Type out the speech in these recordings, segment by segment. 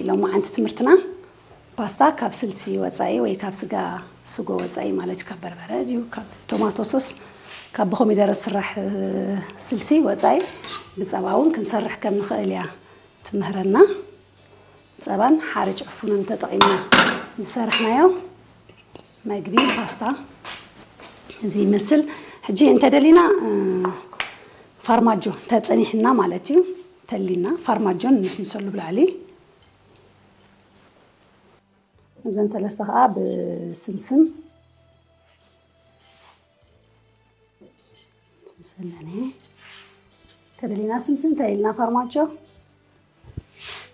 ሎማዓንቲ ትምህርትና ፓስታ ካብ ስልሲ ወፃኢ ወይ ካብ ስጋ ስጎ ወፃኢ ማለት እዩ፣ ካብ በርበረ ድዩ ካብ ቶማቶ ሶስ ካብ ብኮሚደረ ዝስራሕ ስልሲ ወፃኢ ብፀባ እውን ክንሰርሕ ከም ንኽእል እያ ትምህረና። ፀባን ሓርጭ ዕፉንን ተጠቒምና ዝሰርሕናዮ መግቢ ፓስታ እዚ ይመስል። ሕጂ እንተደሊና ፋርማጆ ተፀኒሕና ማለት እዩ፣ ተሊና ፋርማጆን ንስንሰሉ ብላዕሊ። እዘን ሰለስተ ከዓ ብስምስም ሰለኒ ተደሊና ስምስም ተደሊና ፋርማጆ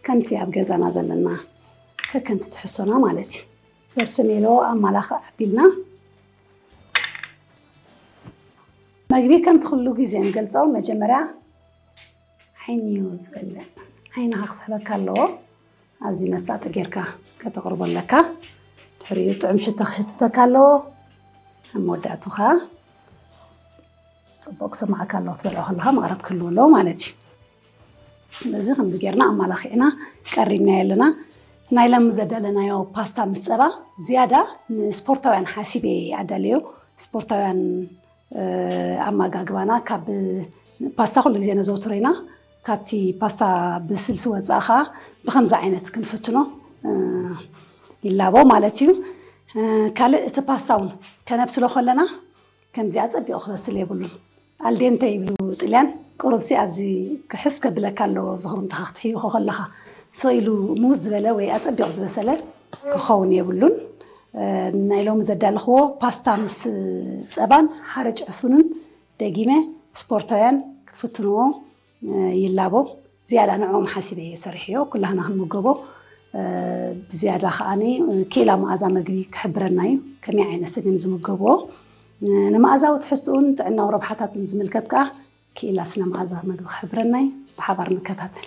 ከምቲ ኣብ ገዛና ዘለና ከከምቲ ትሕሶና ማለት እዩ። በርሰሜሎ ኣማላኽዕ ኣቢልና መግቢ ከምቲ ኩሉ ግዜ ንገልፆ መጀመርያ ዓይኒ እዩ ዝበልዕ። ዓይንኻ ክስሕበካ ኣለዎ። ኣዝዩ መሳጢ ጌርካ ከተቕርቦ ኣለካ። ድሕሪኡ ጥዑም ሽታ ክሽትተካ ኣለዎ። ኣብ መወዳእቱ ኸዓ ፅቡቅ ክስማዓካ ኣለዎ ክትበልዖ ከለካ መቐረት ክህልዎ ኣለዎ ማለት እዩ። ስለዚ ከምዚ ጌርና ኣማላኺዕና ቀሪብናዮ ኣለና። ናይ ሎሚ ዘዳለናዮ ፓስታ ምስ ፀባ ዝያዳ ንስፖርታውያን ሓሲበ ኣዳለዮ። ስፖርታውያን ኣመጋግባና ካብ ፓስታ ኩሉ ግዜ ነዘውትሮ ኢና። ካብቲ ፓስታ ብስልሲ ወፃኢ ከዓ ብከምዚ ዓይነት ክንፍትኖ ይላቦ ማለት እዩ። ካልእ እቲ ፓስታ እውን ከነብስሎ ከለና ከምዚኣ ፀቢቑ ክበስል የብሉን። ኣልዴንተ ይብሉ ጥልያን። ቁሩብሲ ኣብዚ ክሕስ ከብለካ ኣለዎ፣ ኣብዚ ክርምትኻ ክትሕይኾ ከለኻ ስቕ ኢሉ ሙዝ ዝበለ ወይ ኣፀቢቑ ዝበሰለ ክኸውን የብሉን። ናይ ሎሚ ዘዳለኽዎ ፓስታ ምስ ፀባን ሓርጭ ዕፉንን ደጊመ ስፖርታውያን ክትፍትንዎ ይላቦ። ዝያዳ ንዕኦም ሓሲበ እየ ሰሪሐዮ፣ ኩላህና ክንምገቦ። ብዝያዳ ከዓኒ ክኢላ መኣዛ መግቢ ክሕብረና እዩ፣ ከመይ ዓይነት ሰብ እዮም ዝምገብዎ። ንመኣዛዊ ትሕዝትኡን ጥዕናዊ ረብሓታትን ዝምልከት ከኣ ክኢላ ስነ መኣዛ መግቢ ክሕብረና እዩ። ብሓባር ንከታተል።